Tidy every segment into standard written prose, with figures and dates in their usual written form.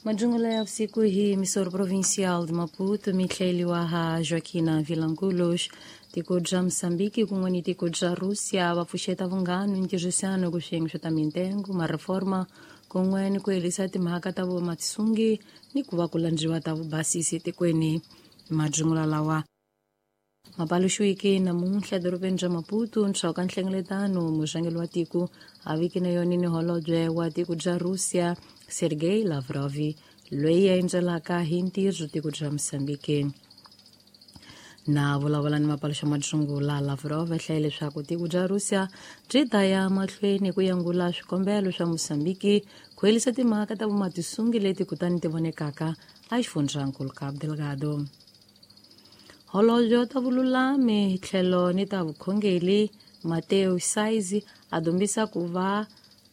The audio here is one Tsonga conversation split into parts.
Majungula ya usiku hii misoro provincial de Maputo mitlheliwa ha Joaquina Vilanculos tiko bya Moçambique kun'we ni tiko bya Rússia va pfuxeta vunghano ni ntirhisano ku swiyenge swa ta mintengo ma-reforma kun'we ni ku herisa timhaka ta vumatisungi ni ku va ku landziwa ta vubasisi etikweni. Majungula lawa mapaluxiweke namuntlha edorobeni bya Maputo ntshawu ka nhlengeletano murhangeri wa tiko a viki na yona ni holobye wa tiko bya Russia Sergei Lavrov loyi a endzelaka hi ntirho tiko bya Mozambique. Na vulavula ni mapaluxa majungula Lavrov a hlaye leswaku tiko bya Russia byi ta ya mahlweni ku yangula swikombelo swa Mozambique ku herisa timhaka ta vumatisungi leti kutani ti vonekaka exifundzhankulu Cabo Delgado. Holobye ta vululami tlhelo ni ta vukhongeri Mateo Saizi a dumbisa ku va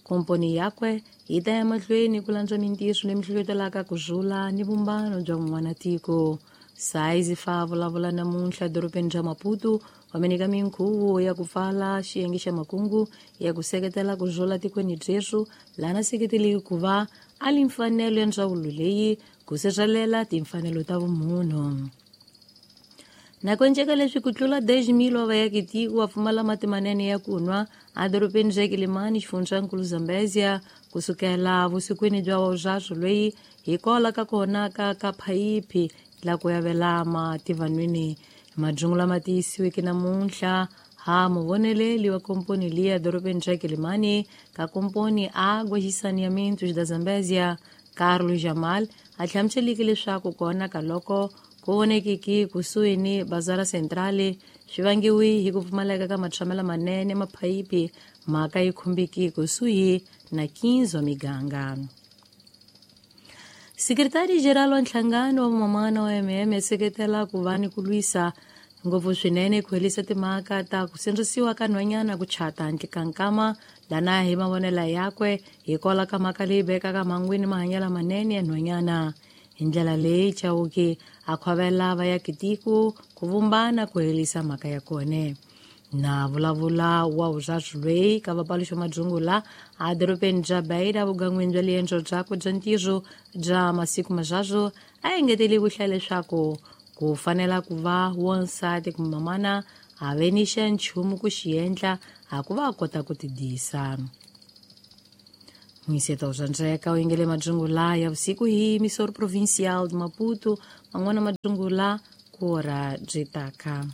komponi yakwe yi ta ya mahlweni ku landza mintirho leyi mihlohlotelaka ku rhula ni vumbano bya vun'wana tiko. Saizi fa vulavula namuntlha edorobeni bya Maputo va minyika minkhuvo ya ku pfala xiyenge xa makungu ya ku seketela ku rhula tikweni byerhu laha na seketeliki ku va a li mfanelo ya ndzawulo leyi ku sirhelela timfanelo ta vumunhu. Na ku enceka leswi ku tlula 10,000 wa vaakatiko va pfumala mati manene ya ku nwa edorobeni ra Quelimane xifundzankulu Zambezia kusukela vusikwini bya wavuswaso loyi hi kola ka kona ka phayiphi la ku yavela mati vanhwini. Majungu lama tiyisiweke namuntlha ha muvoneleli wa komponi liya edorobeni ra Quelimane ka komponi Águas e Saneamentos da Zambezia Carlos Jamal a hlamuseleke leswaku kona ka loko ku vonekiki kusuhi ni Bazara Centrale swi vangiwi hi ku pfumaleka ka matshamelo manene maphayiphi mhaka yi khumbiki kusuhi na 15 wa miganga. Sekretari General wa nhlangano wa vamamana wa MM seketela ku va ni ku lwisa ngopfu swinene ku herisa timhaka ta ku sindzisiwa ka nhwanyana ku chata handle ka nkama lana hi mavonelo yakwe hi kola ka mhaka leyi vekaka mangwini mahanyelo manene ya nhwanyana. Hi ndlela leyi Chauke a khwavela vaakatiko ku vumbana ku herisa mhaka ya kona. Na vulavula wa vuswazi loyi ka vapaluxa majungula edorobeni bya Beira vugan'wini bya liendzo byakwe bya ntirho bya masiku maswaswo a engetele ku hlaya leswaku ku fanela ku va wansati kumbe mamana a ve ni xa nchumu ku xi endla a ku va a kota ku tidisa. Mwiseto swa ndzeka u yingele majungula ya vusiku hi Misoro Provincial de Maputo man'wana majungula ku ora byi taka.